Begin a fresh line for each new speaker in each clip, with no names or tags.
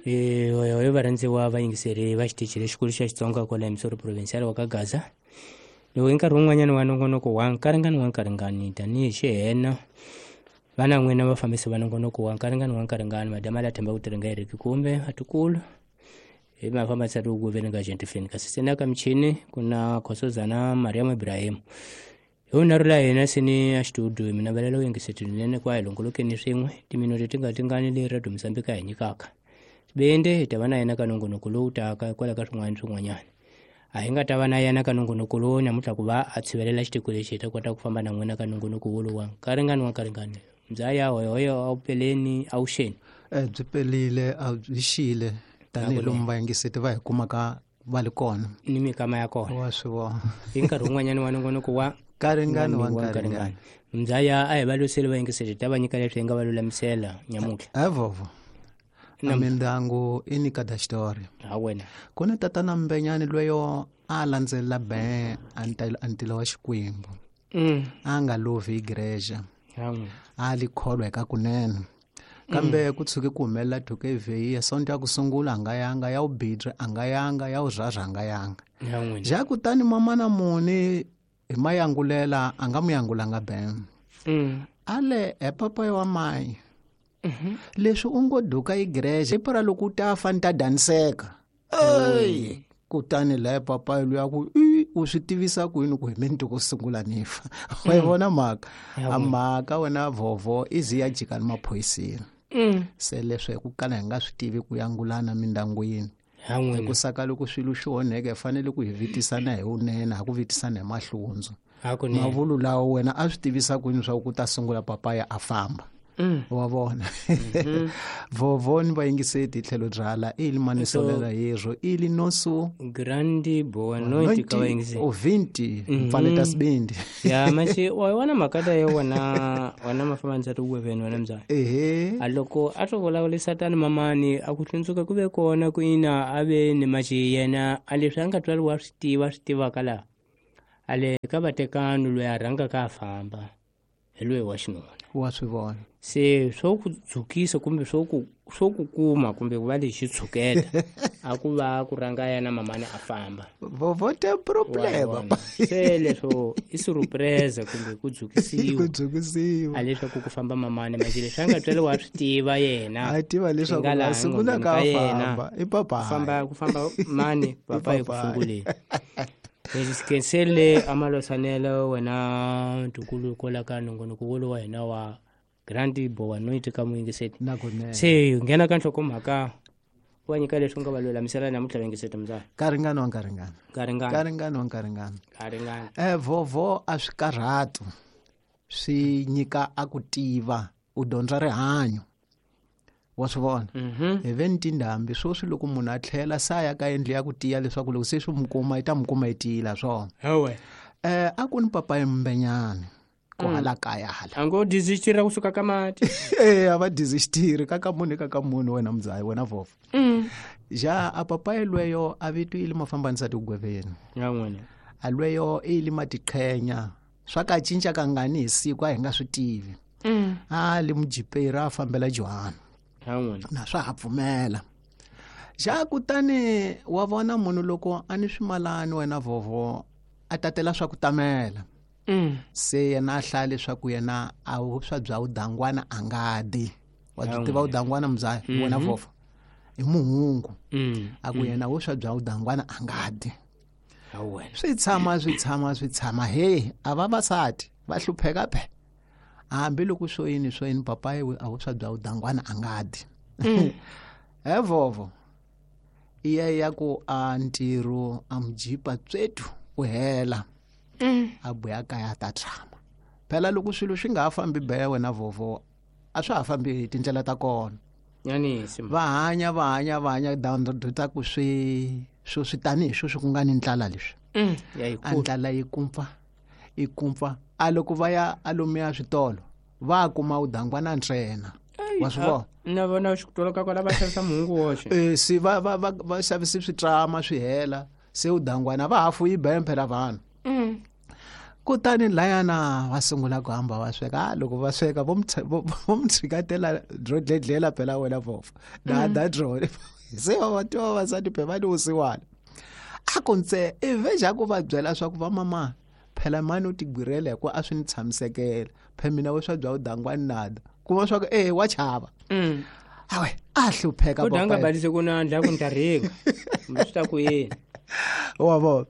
Hoyo varhandziwa vayingiseri va xitichi lexikulu xa Xitsonga kwala emisoro provincial wa ka Gaza. Loko hi nkarhi wun'wanyana wa nongonoko wa nkaringani wa nkaringani tanihi xihena vana n'wina vafambisi va nongonoko wa nkaringani wa nkaringani madama la themba ku tirhinga eriki kumbe atikulu hi mafambisa ri ku veni ka gentifini kasi se na ka michini ku na khosozana Mariam Ibrahim. Hi vunharhu la hina sini a xitudio mina velela u yingisetinene kwa hi longolokeni swin'we timinute ti nga tingani leyi Radio Mozambique a hi nyikaka. Sibende hi ta va na yena ka nongonoko lowu taka hikwalaho ka swin'wana swin'wanyana. A hi nga ta va na yena ka nongonoko lowu namuntlha ku va a tshivelela xitiko lexi hi ta kota ku famba na n'wina ka nongonoko wolowa nkaringani wa nkaringani. Mzaya hoyohoyo a wu peleni a wu xeni.
Byi pelile a byi xile tanihiloko vayingiseti va hi kumaka va li kona
ni mikama ya kona
wa swi vona
hi nkarhi wun'wanyana wa nongonoko wa
nkaringani wa nkaringani.
Mzaya a hi va lwiseli vayingiseti ta va nyika leswi hi nga va lulamisela nyamuntlha.
Evovo a mindyangu i ni kada xitori
ha wena
ku ni tatana Mbenyani lweyo a landzelela be a ntila wa Xikwembu. A nga lovi hi igreja a li kholwa eka kunene kambe ku tshuke ku humelela thuka evheyiya sonto ya ku sungula a nga yanga ya wubidri a nga yanga ya wurharha a nga yanga ja kutani mamana muni hi mayangulela a nga mu yangulanga ben ale he papa wa mayi leswi u ngo duka igreja i para loko u ta fa ni ta daniseka ey kutani laye papayi luya ku i u swi tivisa ku yini ku hi mina ku sungula ni fa wa yi vona mhaka a mhaka wena vovo i zi ya jika ni maphoyiseni se leswi hi ku kala hi nga swi tivi ku yangulana mindyangwini hi ku saka loko swilo swi onheke hi fanele ku hi vitisana hi vunene ha ku vitisana hi mahlundzu mavulu lawa wena a swi tivisa ku yini swa ku ta sungula papaya a famba wa vona vovo ni vayingiseti hi tlhelo byala ili manisolela yezwo ili nosu
grandi boa noite ka vayingiseti
ovinti mpfaleta sibindi
ya machi wa wona mhaka leyo wona wona mafambanisa ti weveni wena mzala
ehe
a loko a to vulavurisa tani mamani a ku hlundzuka ku ve kona ku ina a ve ni machi yena a leswi a nga twali wa swi tiva swi tivaka laha a le ka vatekani loyi a rhangaka a famba hi loyi wa xinuna
wa swi vona
se swo ku dzukisa kumbe swo ku kuma kumbe ku va lexi tshuketa a ku va ku rhanga yena mamani a famba
vovote problema
se leswo i surprise kumbe ku dzukisiwa
ku dzukisiwa
a leswaku ku famba mamani manje leswi a nga twele wa swi tiva yena
a tiva leswaku a sungula ka famba i papa
famba ku famba mani papa eku sunguleni Kensele amalosanelo wena ntukulu kola ka nongonoko wolowo wa hina wa Grandi Boa Noite ka muyingiseti. Se nghena ka nhlokomhaka wa nyika leswi nga va lulamisela namuntlha vayingiseti mzala.
Karingani wa nkaringani.
Karingani.
Karingani wa nkaringani.
Karingani.
Vovo a swi karhatu swi nyika a ku tiva u dyondza rihanyo. Wa swi vona hi ve ni tindhambi sweswi loko munhu a tlhela se a ya ka yindlu ya ku tiya leswaku loko se swi mu kuma yi ta mu kuma yi tiyile swona a ku ni papayi Mbenyani ku hala kaya hala
a ngo dizixitiri kusuka ka mati
a va dizixitiri ka ka munhu ka ka munhu wena mudzayi wena vovo ja a papayi lweyo a vitwile mafambanisa tigweveni a lweyo i li matiqhenya swa ka cinca kangani hi siku a hi nga swi tivi a li mujiperi a fambela Johanna na swa ha pfumela ja kutani wa vona munhu loko a ni swimalani wena vovo a tatela swa ku tamela se yena a hlaya leswaku yena a vuswa bya vudangwana a nga di wa byi tiva vudangwana muzaya wena vovo i muhungu a ku yena vuswa bya vudangwana a nga di swi tshama swi tshama swi tshama he a vavasati va hlupheka phe hambi loko swo yini swo yini papayi a vuswa bya vudangwana a nga di he vovo iya ya ku a ntirho a mujipa tswetu u hela a buya kaya ta tshama phela loko swilo swi nga ha fambi beya wena vovo a swa ha fambi hi tindlela ta kona va hanya va hanya va hanya ta ku swi swo swi tanihi sweswi ku nga ni ndlala leswi a ndlala yi kumpfa yi kumpfa a loko va ya a lomuya switolo va kuma vudangwana ntsena wa swi vona
na vona xitolo ka kona va xavisa muhungu woxe
se va va va va xavisi switrama swi hela se vudangwana va hafu yi bembe phela vanhu. Kutani layana va sungula ku hamba va sweka. Loko va sweka vo mu tshikatela dro dledlela phela wena vofa na da dro se va twa vavasati phe va ni vusiwana. A ku ntse i veja ku va byela swa ku va mama phela mani u tigwirela hi ku a swi ni tshamisekela phe mina wo swa bya udangwani nada kuma swa ku wa chava. Awe a hlupheka
baba udanga balise ku na ndla ku ntarhinga kumbe swi ta ku yini
wa vona.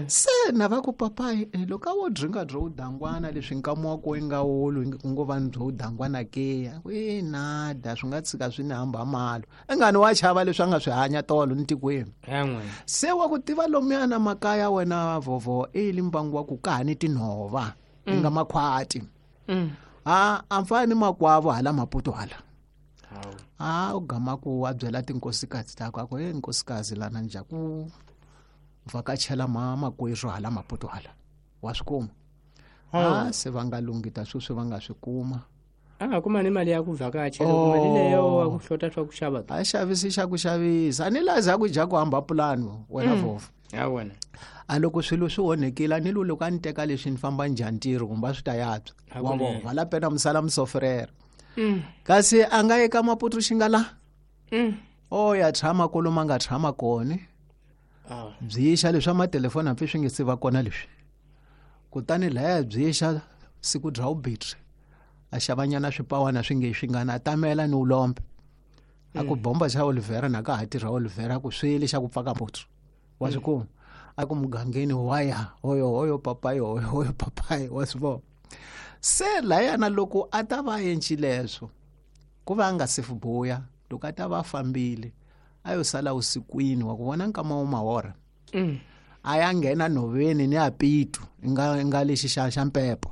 Se na va ku papayi loko a wo dringa byo udangwana leswi nkama wa ko yi nga wulu ku ngo va ni byo udangwana ke e nada swi nga tshika swi ni hamba malo ingani wa chava leswi a nga swi hanya tolo ni tikweni. Se wa ku tiva lomuyana makaya wena vovo i li mbangu wa ku ka ha ni tinhova i nga makhwati. A a mfana ni makwavo hala Maputo hala. A u gama ku a byela tinkosikazi ta ku e nkosikazi lana nja ku vhakachela makwerhu hala Maputo hala wa swi kuma. A se va nga lunghita sweswi va nga swi kuma.
A nga kuma ni mali ya ku vhakachela mali leyo wa ku hlota swa ku xava.
A xavisi xa ku xavisa a ni lazi a ku dya ku hamba pulani wena vovo.
Ya wena.
A loko swilo swi onhekile a ni lo loko a ni teka leswi ni famba njhani ntirho kumbe a swi ta yatswa wa vona hala pena musala musofrera. Kasi a nga eka Maputo xi nga la. O ya tshama kolomu a nga tshama kona. Byixa leswi matelefoni hambi swi nge se va kona leswi. Kutani laya byixa siku bya ubitri a xavanyana swipawana swi nge swi nga na tamela ni ulombe. A ku bomba xa Olivera na ka ha tirha Olivera ku swele xa ku pfaka mputsu. Wa swi kuma. A ku mugangeni waya hoyo hoyo papayi hoyo hoyo papayi wa swi vona. Se layana loko a ta va endli leswo ku va a nga se buya loko a ta va fambile a yo sala usikwini wa ku vona nkama wo mahora. A ya nghena nhoveni ni a pitu nga lexi xa mpepo.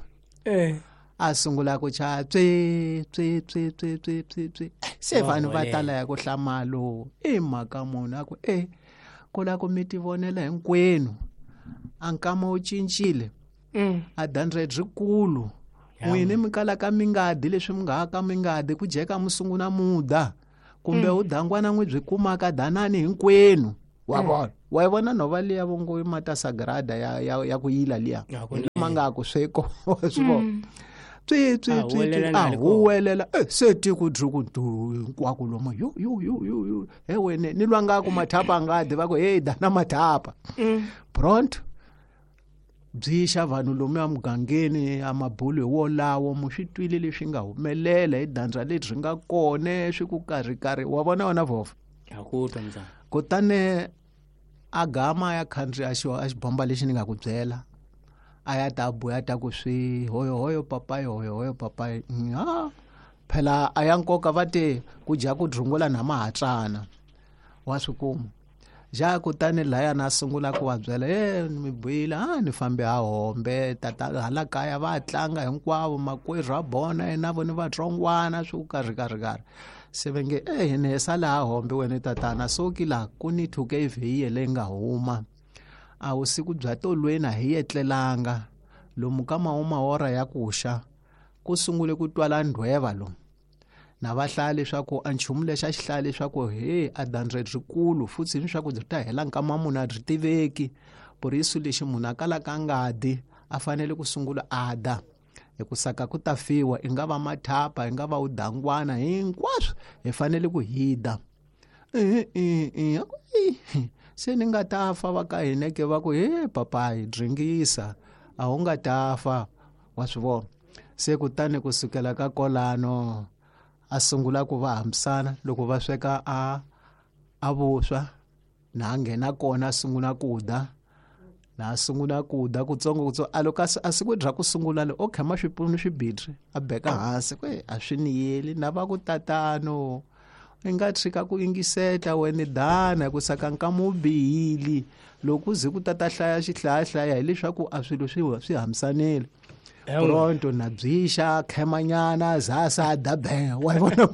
A sungula ku cha tswi tswi tswi tswi tswi tswi tswi. Se vanhu va tala ya ku hlamalo i mhaka munhu a ku ku la ku mi tivonela hinkwenu a nkama wu cincile. A dandre rikulu n'wini mi kalaka mi nga di leswi mi nga ka mi nga di ku jeka mi sungula muda kumbe u dangwana n'wi byi kumaka danani hinkwenu wa vona. Wa yi vona nhova liya vongo mata sagrada ya ku yila liya ma nga ku sweko wa swi vona. Tswi tswi tswi a huwelela se tiko dyi ku du hinkwako lomu yo yo yo yo yo he wene ni lwa nga ku mathapa nga di va ku hey dana mathapa. Pronto byixa vanhu lomu ya mugangeni a mabulu hi wolawo mu swi twile leswi nga humelela hi dandza lebyi nga kona swi ku karhi karhi wa vona wena vova. Kutani a gama ya khandziya a xibomba lexi ni nga ku byela a ya ta buya ta ku swi hoyo hoyo papayi hoyo hoyo papayi. Phela a ya nkoka va te ku dya ku drungula na mahatsana wa swi kuma. Ja kutani layana a sungula ku va byela mi buyile a ni fambe ha hombe tata hala kaya va tlanga hinkwavo makwerhu a bona yena vo ni vatsongwana swi ku karhi karhi karhi. Se va nge ni hi sala ha hombe wena tatana soki la ku ni thuke ivhiye leyi nga huma. A vusiku bya tolweni a hi etlelanga lomu ka mahora ya ku xa ku sungule ku twala ndhweva lomu. Na va hlaya leswaku a nchumu lexi a xi hlaya leswaku he a dandre rikulu futhi ni swaku byi ta hela nkama munhu a byi tiveki. Purisu lexi munhu a kalaka a nga di a fanele ku sungula a da. Hi ku saka ku ta fiwa i nga va mathapa i nga va udangwana hinkwaswo hi fanele ku hi da. Se ni nga ta fa va ka hina ke va ku he papayi dringisa a wu nga ta fa wa swi vona. Se kutani kusukela ka kolano a sungula ku va hambisana loko va sweka a vuswa na nghena kona a sungula ku da na sungula ku da kutsongo kutsongo a loko a siku bya ku sungula le o khama swipunu swibitri a beka hansi ku a swi ni yeli na va ku tatano i nga tshika ku yingiseta wena dana ku saka nkama wu bihile loko u ze ku tata hlaya xihlayahlaya hileswaku a swilo swi hambisanile. Pronto na byixa khemanyana zasa dabe wa vona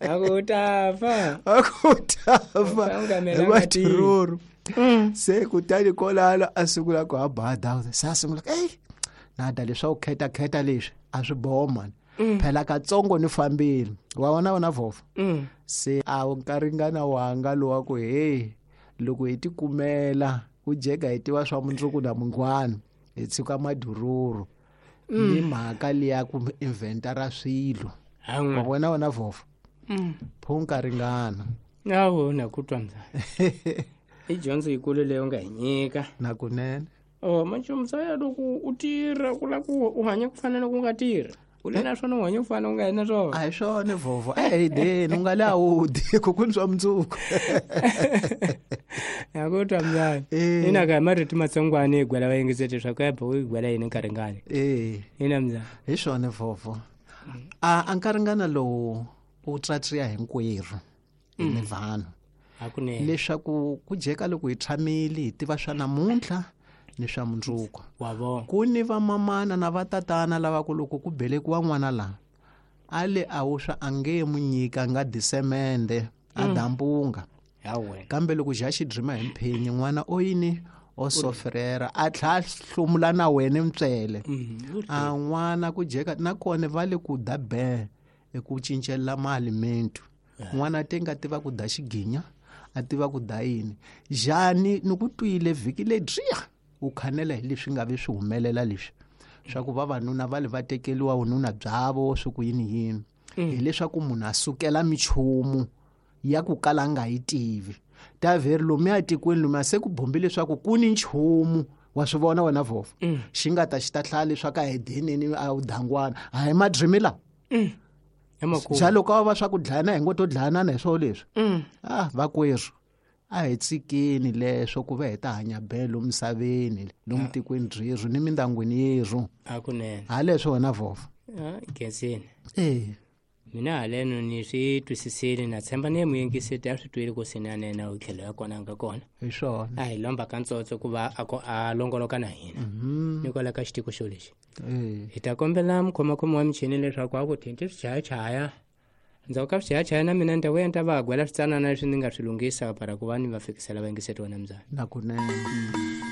a ku ta fa
a ku ta fa matiruru. Se kutani kolala a sungula ku haba se a sungula ey nada leswa ku kheta kheta leswi a swi boho mani. Phela katsongo ni fambile wa vona wena vova. Se a wu nkaringana wanga lowa ku hey loko hi tikumela ku jeka hi tiva swa mundzuku na mungwana. Hi tshika madururu ni mhaka liya ku inventara swilo. Wa vona wena vhofo? Pho nkaringana.
Awo na ku twa mzaya. I dyondzo yikulu leyi u nga hi nyika.
Nakunene.
Oh, manje mzaya loko u tirha ku lava ku u hanya ku fana na ku nga tirha. U le na swona u hanya ku fana u nga na swona.
A hi swona vhofo. A hi deni u nga le a wu dyi ku ku ni swa mundzuku.
Na ku twa mzaya. Ina ka marito matsongwana hi gwela vayingiseri leswaku ya u gwela yini nkaringana. Ina mzaya.
Hi swona vhofo. A nkaringana lowu u tsatsiya hinkwerhu hi ni vanhu.
Hakunene.
Leswaku ku jeka loko hi tshamile hi tiva swa namuntlha ni swa mundzuku.
Wa vona.
Ku ni vamamana na vatatana lava ku loko ku belekiwa n'wana laha a le a wu swa a nge mu nyika nga disemende a dambunga. Kambe loko ja xi drima hi mphenyi n'wana o yini o sofrera a tlha hlomula na wena ntswele. A n'wana ku jeka nakona va le ku da be eku cincela mali mentu. N'wana te nga tiva ku da xiginya a tiva ku da yini. Jani ni ku twile vhiki ledyiya u khanela hi leswi nga vi swi humelela leswi swa ku vavanuna va le va tekeliwa vununa byavo swi ku yini yini. Hileswaku munhu a sukela michumu ya ku kala a nga yi tivi. Ta vheri lomuya tikweni lomuya se ku bombi leswaku ku ni nchumu wa swi vona wena vhofo. Xi nga ta xi ta hlaya leswaku a hi deneni a wu dangwana. A hi madrimi la. Xa loko a va swa ku dlayana hi ngo to dlayanana hi swona leswi. Vakwerhu a hi tshikeni leswo ku va hi ta hanya belo misaveni lomu tikweni ryerhu ni mindyangwini yerhu.
Hakunene.
Ha leswo wena vhofo.
Khensini. Mina haleno ni swi twisisile na tshemba ni muyingiseti a swi twile ku sinanena u tlhelo ya kona nga kona.
Hi swona.
A hi lomba ka ntsotso ku va a longoloka na hina. Ni kwala ka xitiko xo lexi. Hi ta kombela mukhomakhomi wa michini leswaku a ku thinti swichayachaya. Ndzhaku ka swichayachaya na mina ni ta vuya ni ta va gwela switsanana leswi ni nga swi lunghisa para ku va ni va fikisela vayingiseti wa namzana.
Nakunene.